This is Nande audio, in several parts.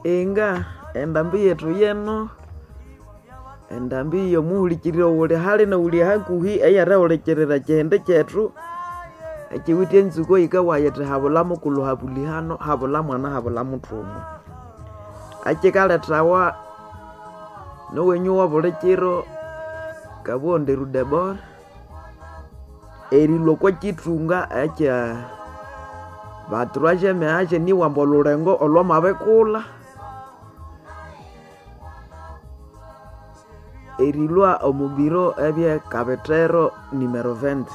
Inga endambi yethu yino, endambi yomuhulikiriri oyuli hali noyuli hakuhi eyerihulikirira ekihindi kyethu ekyiwithe enzukwa eyikabuwa yithi habula mukulhu habulihano habula mwana habula muthuma. Ekikalethawa nowenyu owabulikiro Kabugho Nderu Debora erilhwa okwakyithunga ekya ba troisieme age nibwambu olhulengo olhwamabikulha erilhwa omubiro ebye Kabithero numero 20.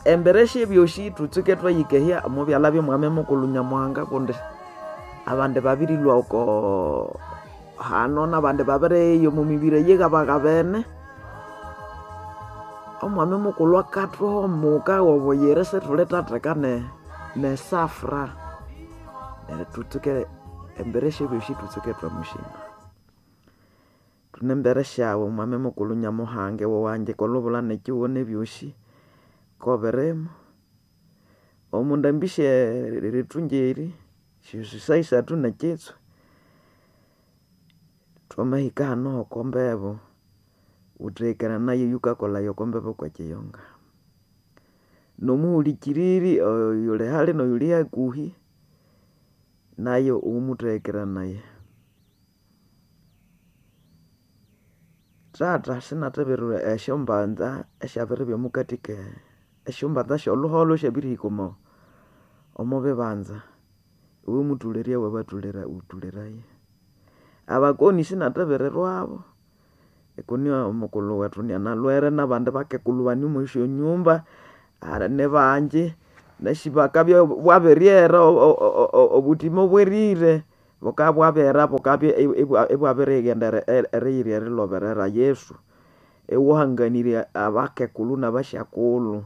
Embere syebyosi thutsuke twayikehya omubyalha byomwami mukulhu Nyamuhanga kundi abandi babirilhwa oko hano nabandi babiriya omwamibiri eyighabaghabene. Omwami mukulhu akathuha omuka wobuyira isithulithatheka nesafra. Neryo thutsuke embere syebyosi thutsuke ithwamushima. Thune embere syawu mwami mukulhu Nyamuhanga iwe owangika olhubulha nekyihugho nebyosi kobirimu. Omondambi syerithunga eri esyosaha isathu nekyitswe thwamahika hano hokwambebu wutheghekeraye oyukakolhaya okwambebo kwekiyunga. Nomuhulikiriri oyuli hali noyuli hakuhi nayu wumutheghekeraye. Thatha singathibirira esyambanza esyabiribya omukathi ke esyambanza syolhuholho esyabirihika omobibanza iwemuthulherya wabathulera wuthuleraye. Abakoni singathibirirwabu kuni omukulhu wethu inanalhwere nabandi bakekulhu bane omwesyonyumba nibangi wunasi bakabya bwabiryera obuthima bwerire bukabya bwabera bukabya ibwabirighenda eriyira eriloberera Yesu. Iwahanganirya abakekulhu nabasyakulhu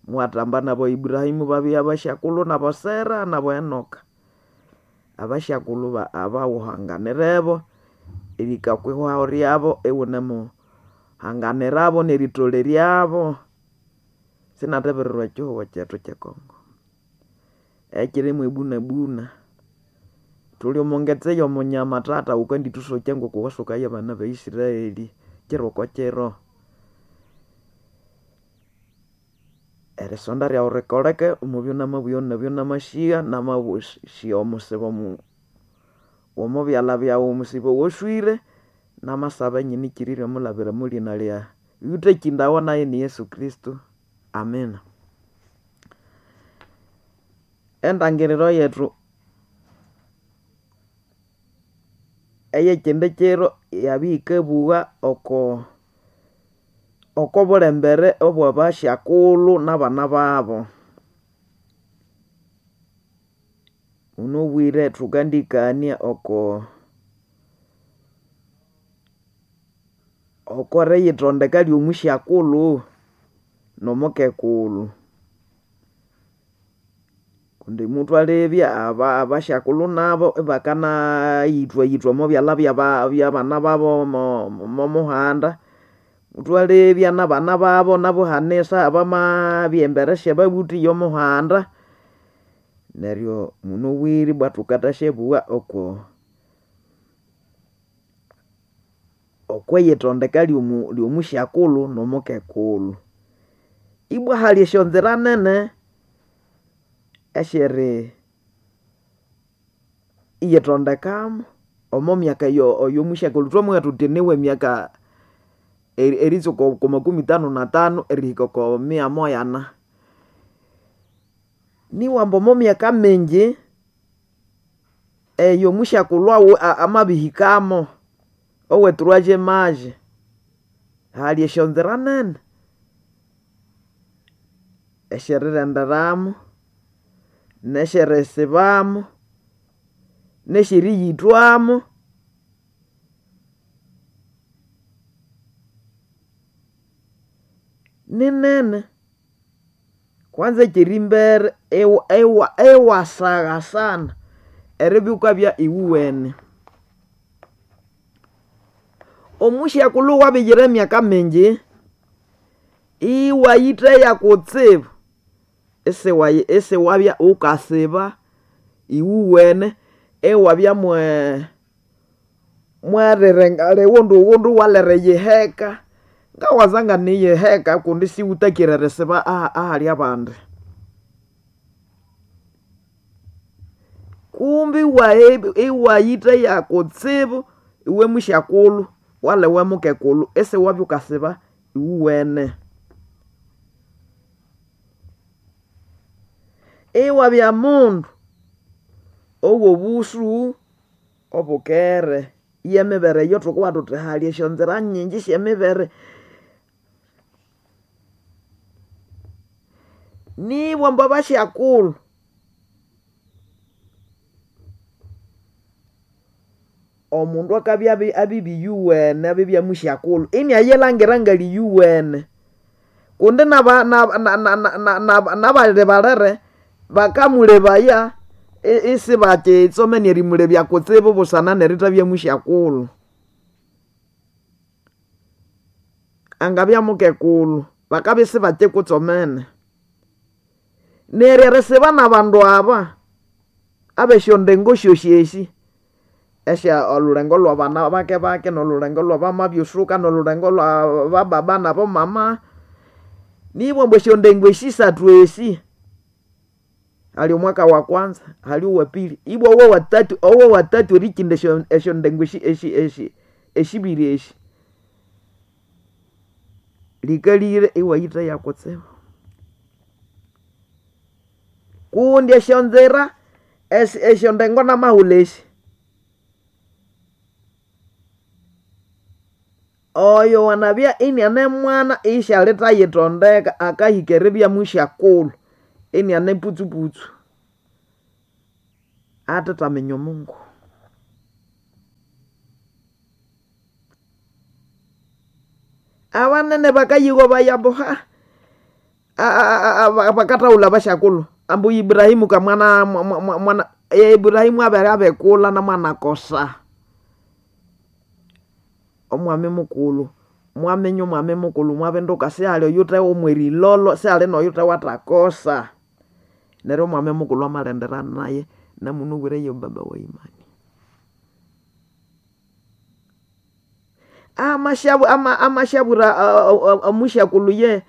iwathamba naba Ibrahim babya basyakulhu naba Sera naba Enoka. Abasyakulhu abawuhanganirebo erihika okwihwaho ryabo iwunemuhanganirabo neritholeryabo. Singathibirirwa ekyihugho kyethu kye congo ekyiri mwebunabuna. Thuli omongetse yomunyama thatha wukandithusokya ngokuwasokaya abana ba Israeli kiro okokiro. Erisonda ryawu rikoleke omubyanamabugha nebyanamasigha namasigha omusibo omobyalha byawu omusibo owoswire namasaba inyinekirirya omwilhabira omwalhina lya oyuthakindawa nayu ni Yesu Kristo Amina. Endangiriro yethu eyekyindi kyiro yabya yikabugha oko okobulembere obwabasyakulhu nabana babu. Munabwire thukandikania oko okeriyithondeka ryomusyakulhu nomukekulhu. Kundi muthwalebya abasyakulhu nabu ibakanayithwayithwa omobyalha byabana babu momuhanda. Muthwalebya nabana babu hanisa bamabya embere syababuthi yomuhanda. Neryo munabwire ibwa thukathasyabuwa oko okwiyithondeka ryomusyakulhu nomukekulhu. Ibwa hali esyonzira nene esyeriyithondekamu omomyaka eyomusyakulhu thwamabugha thuthi niwemyaka eritsuka oko makumi tanu na tanu erihika oko mia moya na. Nibwa ambu omomyaka mingi eyo omusyakulhu amabihikamo owe troisieme age hali esyonzira nene esyerirenderamu nesyerisibamo nesyeriyithwamo. Ninene kwanza ekyerimbere iwasaghasana eribya wukabya iwuwene. Omusyakulhu wabiyira emyaka mingi iwayitheya kutsibu. Isiwabya wukasiba iwuwene iwabya mwerirenga lighundu walere yiheka. Ngawaza nganiyiheka kundi siwutakire erisiba ahali abandi. Kumbi iwayitheya kutsibu iwe musyakulhu wala iwe mukekulhu isiwabya wukasiba iwuwene. Iwabya mundu owobusu obukere. Yemibere eyo thukowa thuthi hali esyonzira nyingi syemibere. Nibwa ambu abasyakulhu omundu akabya abibya iyuwene abibya musyakulhu inayilhangira ngali iyuwene. Kundi nabali balere bakamulebaya isibakyitsomene erimulebya kutsibu busana nerithabya musyakulhu. Angabya mukekulhu bakabya isibakyikutsomene. Neryo erisiba nabandu aba abesyondengo syosi esi, esya olhulengo lwabana bake bake nolhulengo lwabamabyusuka nolhulengo lwabababa nabomama. Nibwa ambu esyondengo esi sathu esi, hali omwaka wa kwanza, hali owapili, ibwa owawatathu owawatathu erikinda esyondengo esibiri esi. Likalire iwayitheya kutsibu. Kundi esyonzira esyondengo namahulha esi, oyo wanabya iniane mwana isyalithayithondeka akahika eribya musyakulhu iniane putsuputsu athithaminya omungu. Abanene bakayigobaya ambu bakathahulha abasyakulhu ambu Ibrahimu kamwana mwana Ibrahimu abere abikulha namwanakosa. Omwami mukulhu mwaminya omwami mukulhu mwabinduka sihali oyuthe mwerilolo sihali noyuthe wathakosa. Neryo omwami mukulhu amalindira naye namunabwire ye baba wa imani. Amasyabwira omusyakulhu ye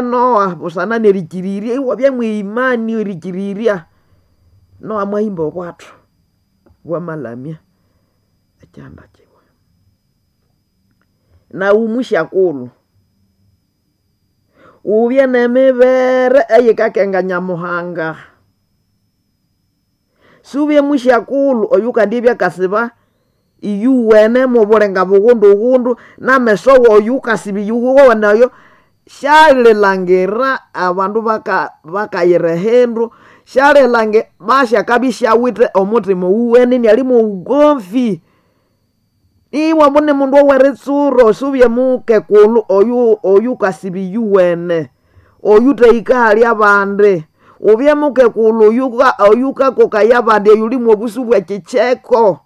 Noah busana nerikirirya iwabya mweimani erikirirya. Noah mwahimba obwathu bwamalamya ekyihanda kyiwe. Nawu musyakulhu wubye nemibere eyikakenga Nyamuhanga. Siwubye musyakulhu oyukandibya akasiba iyuwene mobulenga bughundu ghundu nameso woyu wukasiba iyuwene oyo syalilhangira abandu bakayira ehindu, basyakabya isyawithe omuthima owuwene inali mwobugomvi. Ibwa ambu nimundu oweritsuro siwubye mukekulhu oyukasiba iyuwene, oyuthahika ahali abandi. Wubye mukekulhu oyukakokaya abandi oyuli mwobusu bwekyikyeko.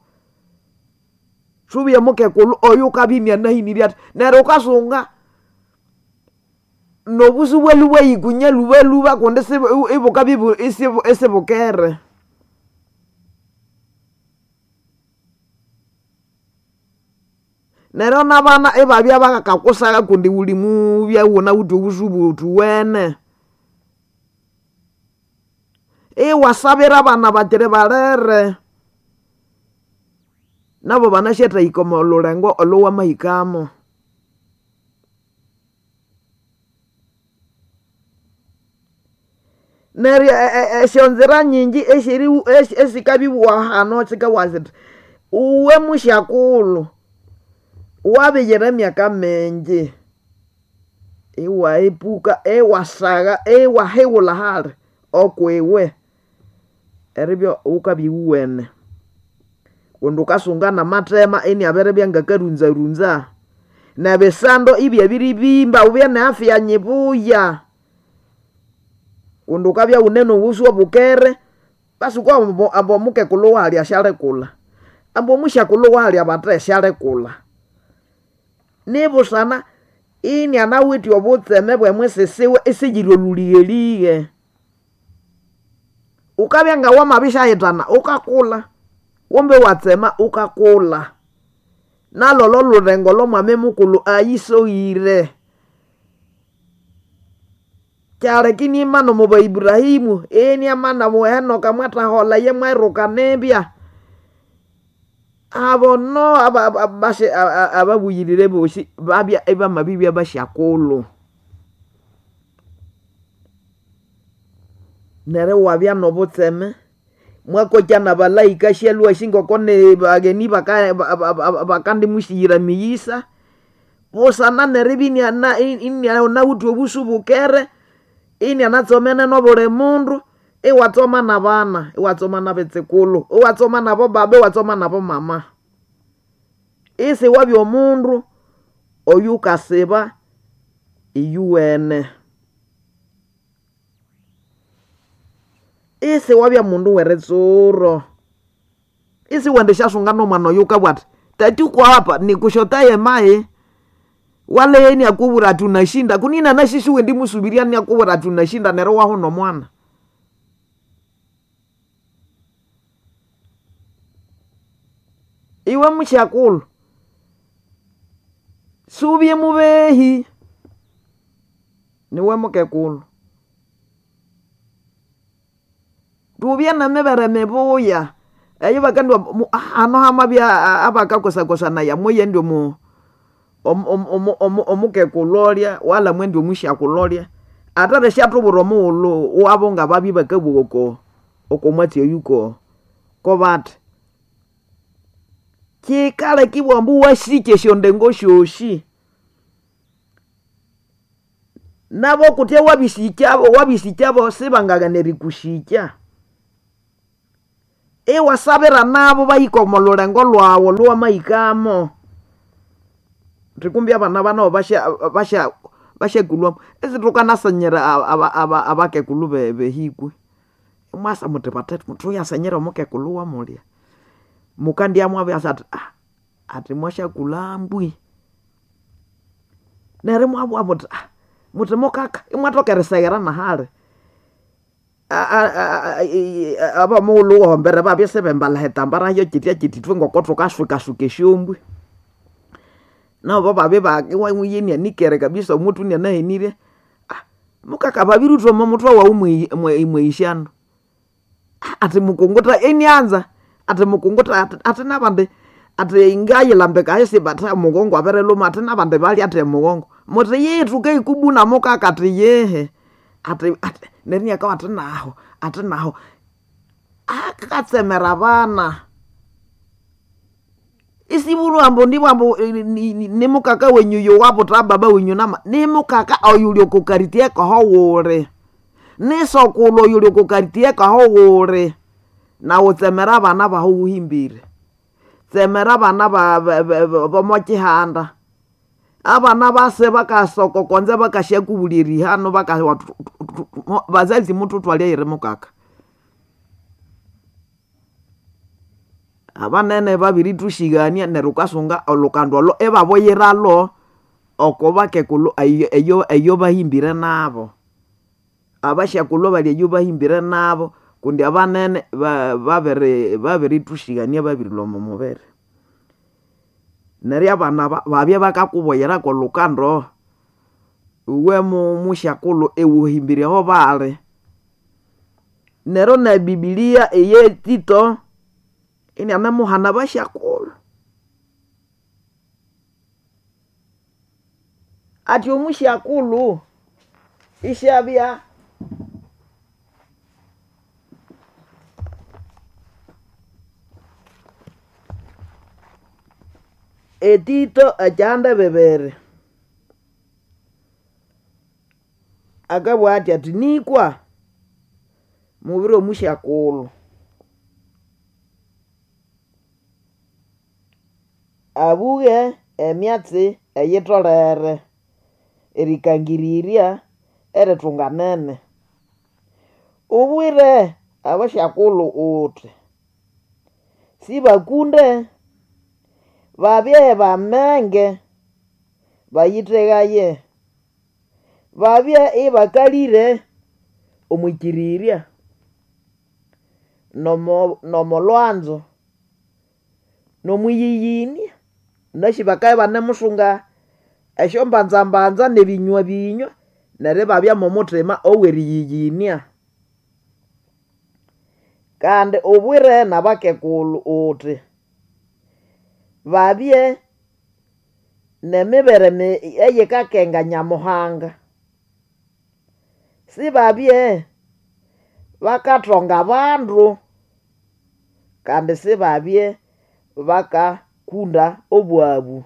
Siwubye mukekulhu oyukabya inianahinirye athi neryo wukasunga nobusu bwalwe ibwayikunya lhubalhuba kundi ibukabya isibukere. Neryo nabana ibabya bakakusagha kundi wuli mubya iwunawithe obusu buthuwene. Iwasabira abana bakyiri balere nabo banasyathahika omolhulengo olhowamahikamo. Neryo esyonzira nyingi esikabibugha hano sikabugha sithi uwe musyakulhu wabiyira emyaka mingi iwaepuka iwasagha iwahighulha hali okwiwe eribya wukabya iwuwene. Kundi wukasunga namathema iniabiribya ngakarunzarunza nebisando ibyabiribimba wubye ne afya nyibuya. Kundi wukabya iwune nobusu obukere basi wukowa ambu omukekulhu wahalya syalikulha, ambu omusyakulhu wahalya bathe syalikulha. Nibusana inianawithe obutseme bwemwisisiwe isiyiri olhulighelighe. Ukabya nga wamabishahitana ukakula, kumbe watsema ukakula. Nalolo lurengo lw'omwami mukulhu ayisoghire. Kyaleka inimana omu ba Ibrahimu, iniamana omu Henoka mwathaholha iye mwayiruka nibya. Abo no ababuyirire bosi babya ibamabibya basyakulhu. Neryo iwabya n'obutseme, mwakokya n'abalaika syalhwa asi ngoko ni bagheni bakandimusighira emighisa, busana neribya inianawithe obusu bukere, inianatsomene n'obuli mundu, iwatsoma n'abana, iwatsoma n'abetsukulhu, iwatsoma n'abo baba, iwatsoma n'abo mama. Isiwabya omundu oyukasiba iyuwene. Isiwabya mundu w'eritsuro. Isiwendisyasunga n'omwana oyo wukabugha athi tati uko hapa nikushotaye mayi, wala iye inakubwira athi unashinda kuni inanasi siwendimusubirya inakubwira athi unashinda neryo iwahuna omwana. Iwe musyakulhu, siwubye mubehi, niwe mukekulhu. Thubye n'emibere mibuya eyibakandwa hano hamabya abakakosakosanaya moyendi omukekulhu olya wala mwendi omusyakulhu olya, atholere isyathubwira omughulhu wabo ngababya ibakabugha oko okomwatsi oyu kobathi. Kyikaleka ibugha ambu wasikya esyondengo syosi. Nabo kutya wabisikyabo wabisikyabo sibangaghana erikusikya. Iwasabira nabo bahike omo lhulengo lhwawu olhuwamahikamo. Thuthi kumbi abana nabo basyakulhwamu isithukanasinyira abakekulhu behikwe. Imwasa muthi bathethe thuyasenyere omukekulhu wamulya. Mukandya mwabirasa athi athi mwasyakulha mbwi. Neryo imwabugha muthi muthi mukaka imwathoka eriseghera nahali. Abomughulhu wohombere babya isibambalha ehitambara hyokyityakyithi ithwe ngoko thukaswikaswika esyombwe. Nabo babya inianikere kabisa omuthwe inianahenirye, mukaka babirithwa omomuthwe wawu mweyisyano. Athi mukunguta inianza athi mukunguta athi nabandi athi ngayilambika ahisi but omugongo abirilhuma athi nabandi balya athi omugongo. Muthi yihi thukayikubuna mukaka athi yihi. Athi athi neryo iniakabugha athi nahu athi nahu. Akatsemera abana. Isibulhwa ambu nibwa ambu nimukaka wenyu oyo wabutha baba wenyu nama nimukaka oyuli oko karitiye kahoghuli. Nisokulhu oyuli oko karitiye kahoghuli. Nawu tsemera abana bahu wuhimbire. Tsemera abana bomokyihanda. Abana base bakasoka okonze bakasyakubulya erihano bakawa bazazi muthuthwale eyiri mukaka. Abanene babirithusighania neryo wukasunga olhukandu olo ibabuyiralho oko bakekulhu eyo eyobahimbire nabo. Abasyakulhu abali eyo bahimbire nabo kundi abanene babirithusighania babirilhwa omo mubiri. Neryo abana aba babya bakakubuyira kolhukando, iwe musyakulhu iwuhimbire aho bali. Neryo ne bibilia eye Tito inianemuhana abasyakulhu. Athi omusyakulhu isyabya Etito ekyihanda bibiri, akabugha athi athi nikwa mubwire omusyakulhu abughe emyatsi eyitholere erikangirirya erithunganene. Ubwire abasyakulhu wuthi sibakunde, babye bamenge, bayithegaye, babye ibakalire omwikirirya. Nomo lwanzo nomwiyĩyĩnĩa. Ũnasĩ bakabya ibanemusunga esyombanzambanza n'ebinywa binywa neryo ibabya m'omuthima ow'eriyĩyĩnĩa. Kandi ubwire n'abakekulhu uthi babye n'emibere eyikakenga Nyamuhanga. Sibabye bakathonga abandu kandi sibabye bakakunda obwabu.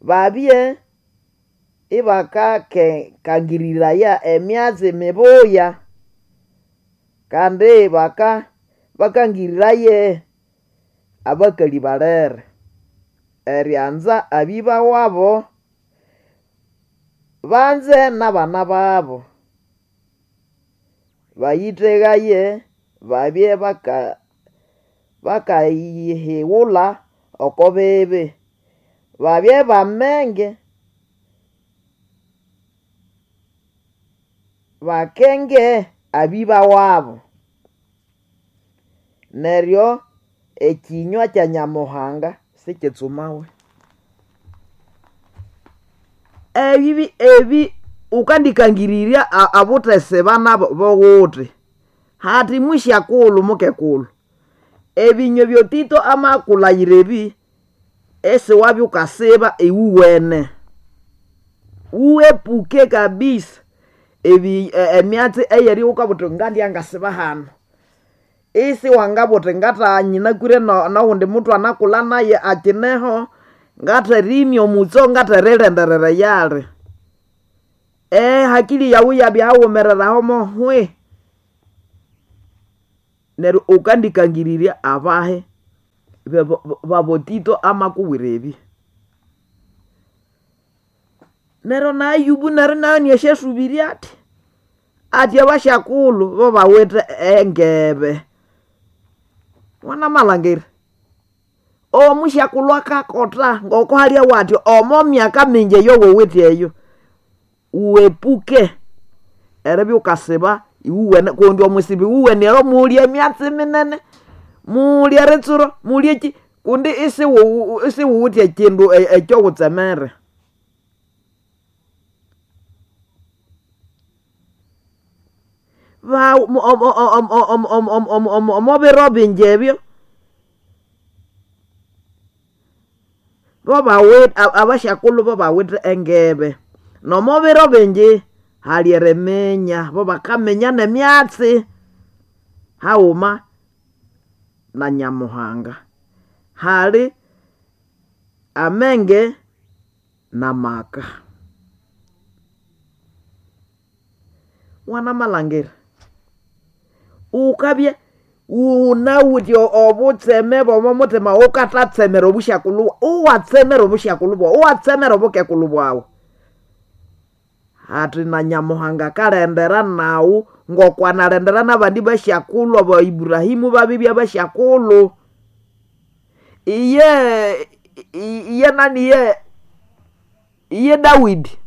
Babye ibakakangiriraya emyatsi mibuya kandi bakangiriraye abakali balere erianza abiba wabo, banze n'abana babo. Bayithegaye babye bakayihighulha oko bibi. Babye bamenge bakenge abiba wabo. Neryo ekinywa kya Nyamuhanga sikitsumawe. Ebi ebi ukandikangirirya abuthesiba nabo bowuthi hati musyakulhu mukekulhu ebinywa ebyotito amakulhayira ebi isiwabya wukasiba iwuwene. Wuwepuke kabisa emyatsi eyerya wukabugha wuthi ngandya ngasiba hano. Isiwangabugha wuthi ngatha nyinakwire nowundi muthu anakulha naye akineho ngatherimya omutso ngatherilindirira eyali. Ehakili yawu iyabya haghumerere aho mohwi. Neryo wukandikangirirya abahi babotito amakubwira ebi. Neryo na Ayubu neryo nayo iniasyasubirya athi, athi abasyakulhu bobawithe engebe. Wanamalhangira omusyakulhu akakotha ngoko halyawa athi omo myaka mingi eyowuwithe eyo wuepuke eribya wukasiba iwuwene kundi omwisiba iwuwene oyo muli emyatsi minene, muli eritsuro, muli ekyi kundi isiwuwithe ekyindu ekyowutsemere. Omobiro bingi ebyo abasyakulhu bobawithe engebe. Nomobiro bingi hali eriminya, bobakaminya n'emyatsi haghuma na Nyamuhanga. Hali amenge n'amaka. Wanamalhangira wukabya wunawithe obutseme bw'omo muthima wukathatsemera obusyakulhu iwatsemera obusyakulhu bwawu, iwatsemera obukekulhu bwawu. Hathi na Nyamuhanga akalendera nawu ngoko analendera n'abandi basyakulhu aba Iburahimu babibya basyakulhu. Iye iye nani iye iye Dawidi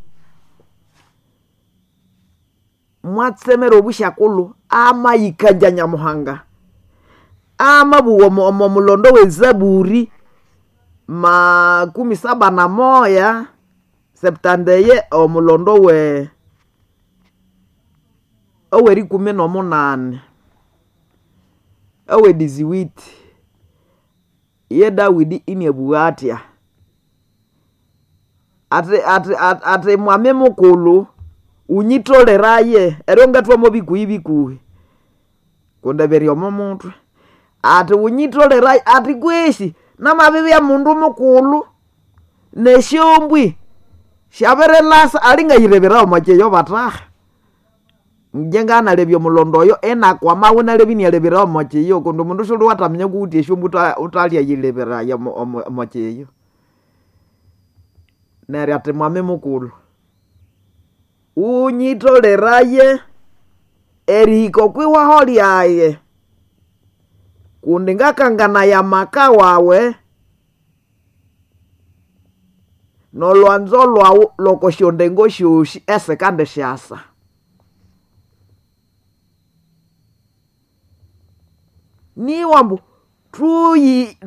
mwatsemera obusyakulhu amayikangya Nyamuhanga. Amabugha omo mulondo w'ezaburi makumi saba na moya septandeye omulondo ow'erikumi n'omunani ow'ediziwiti ye Dawidi iniabugha athya athi athi mwami mukulhu wunyitholeraye eryo ngathwamo bikuhi bikuhi kundi biri omo muthwe. Athi wunyitholeraye athi kwesi namabibya mundu mukulhu nesyombwi syabirilasa alingayireberawo omwa kyeyo batahi. Ingye nganalebya omulondo oyo inakwamawo inalebya inialeberawo omo kyeyo kundi omundu siwuliwathaminya wukuwithe esyombwi wuthaliayileberaya omo kyeyo. Neryo athi mwami mukulhu wunyitholeraye erihika okwihwaho lyaye kundi ngakanganaya amaka wawe n'olwanzo lwawu lw'okosyondengo syosi esikandisyasa. Niwambu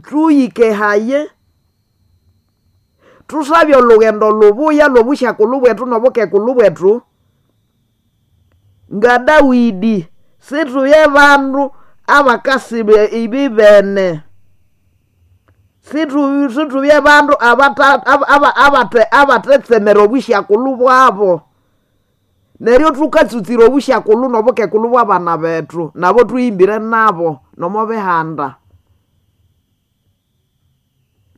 tuyikehaye tusabye olugendo lubuya lw'obusyakulhu bwetu n'obukekulhu bwetu nga Dawidi situye bandu abakasiba ibibene situbye bandu abatetsemera obusyakulhu bwabo neryo tukatsutsira obusyakulhu n'obukekulhu bw'abana bethu nabo tuyimbire nabo nomo bihanda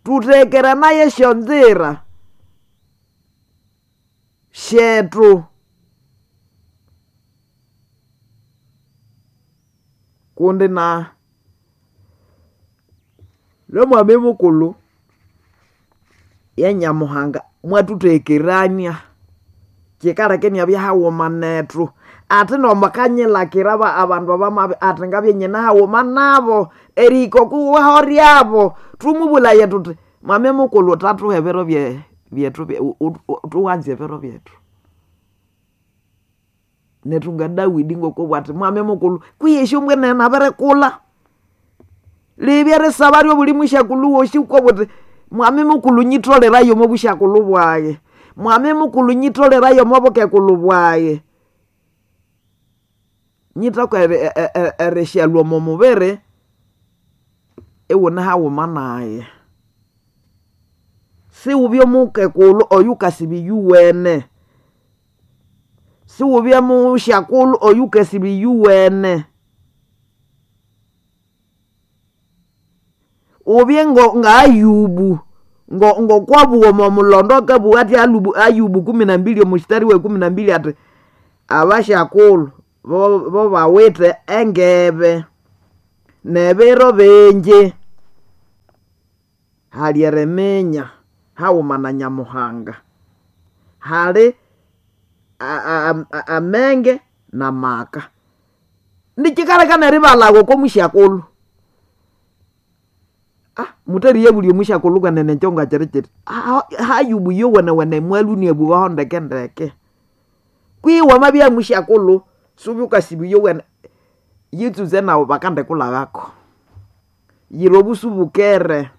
tutekeranaye esyonzira syetu kundi na lomwami mukulhu ye Nyamuhanga mwathuthekerania kikaleka inabya haghuma nethu ati nomakanyilakira abandu abamabi ati ngabya nyine haghuma nabo erihika okwiwaho ryabo thumubulhaye thuthi mwami mukulhu thathuha ebiro byethu thuwanze ebiro byethu nethu nga Dawidi ngokobugha athi mwami mukulhu kwihi esyombwe nene nabirikulha libya erisaba ryobuli musyakulhu wosi wukabugha uthi mwami mukulhu nyitholerayo omo busyakulhu bwayi mwami mukulhu nyitholerayo omo bukekulhu bwayi nyithoka erisyalhwa omo mubiri iwune haghuma nayi siwubye mukekulhu oyukasiba iyuwene siwubye musyakulhu oyukasiba iyuwene ubye nga Ayubu ngokwabugha omo mulondo akabugha athi Ayubu 12 omustari we 12 ati abasyakulhu bo bawithe engebe n'ebiro bingi hali eriminya haghuma na Nyamuhanga hali amenge n'amaka nikikaleka neribalhawa oko musyakulhu muthaliye omusyakulhu kwenene ekyo ngakyiri kyithi Hayubu yowenewene mwalhu inabughaho ndeke ndeke kwihi wamabya musyakulhu siwubye wukasiba iyowene yitsutse nawu bakandikulhaghako yira obusu bukere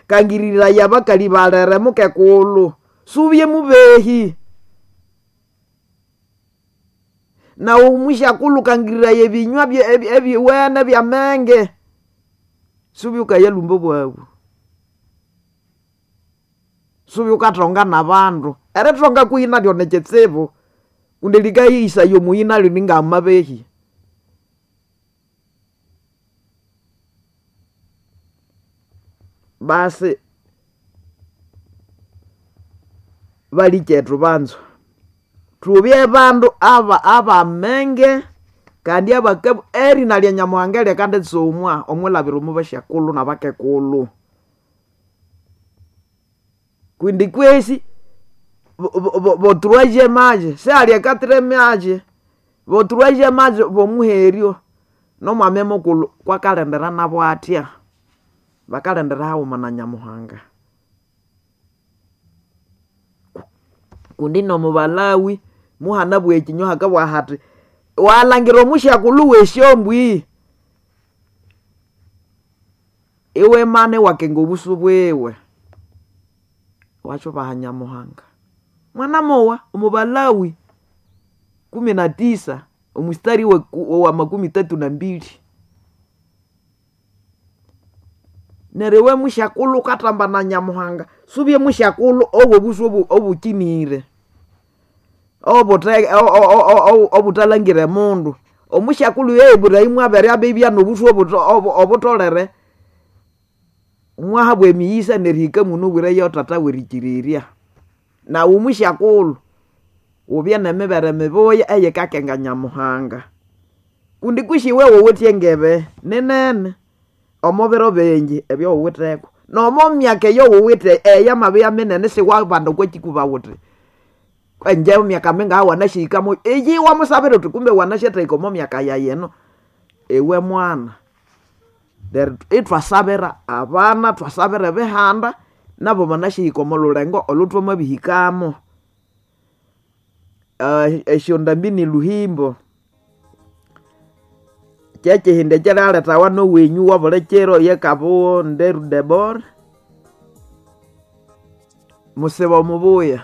kangiriraya abakali balere mukekulhu siwubye mubehi nawu musyakulhu kangiriraya ebinywa ebiwene ebyamenge siwubye wukayalhumba obwabu siwubye wukathonga n'abandu erithonga kwihi naryo nikitsibu kundi likayihisaya omuyi naryo ningamabehi basi balikyethu banza thubye bandu abamenge kandi erina lya Nyamuhanga lyakanditsumwa omwilhabira omo basyakulhu n'abakekulhu kundi kwesi botroisième age sihali e quatrième age botroisième age bomuheryo nomwami mukulhu kwakalendera nabo athya bakalendera haghuma na Nyamuhanga kundi nomubalawi muhanabugha ekinywa hakabugha hathi walhangira omusyakulhu w'esyombwi iwimana iwakenga obusu bwiwe iwasyubaha Nyamuhanga mwana mowa omubalawi 19 omustari wa 32 neryo iwe musyakulhu wukathamba na Nyamuhanga siwubye musyakulhu owobusu obukinire obuthalangire mundu omusyakulhu ye Iburahimu abere abibya nobusu obutholere mwahabwa emighisa nerihika munu obwireyo tata w'erikirirya nawu omusyakulhu wubye n'emibere mibuya eyikakenga Nyamuhanga kundi kwisi iwe wuwithe engebe ninene omo biro bingi ebyowuwitheko nomo myaka eyowuwithe eyamabya minene siwabanda okwakikuba wuthi enje myaka mingaha wanasyihikamo iyi wamusabira wuthi kumbe wanasyathahika omo myaka yayi eno iwe mwana neryo ithwasabira abana thwasabira ebihanda nabo banasyahika omo lhulengo olhuthwamabihikamo esyondambi ni luhimbo Kyekihindi ekyirialetawa nowenyũ wobuli kiro yekabugo nderu debora musiba omubuya.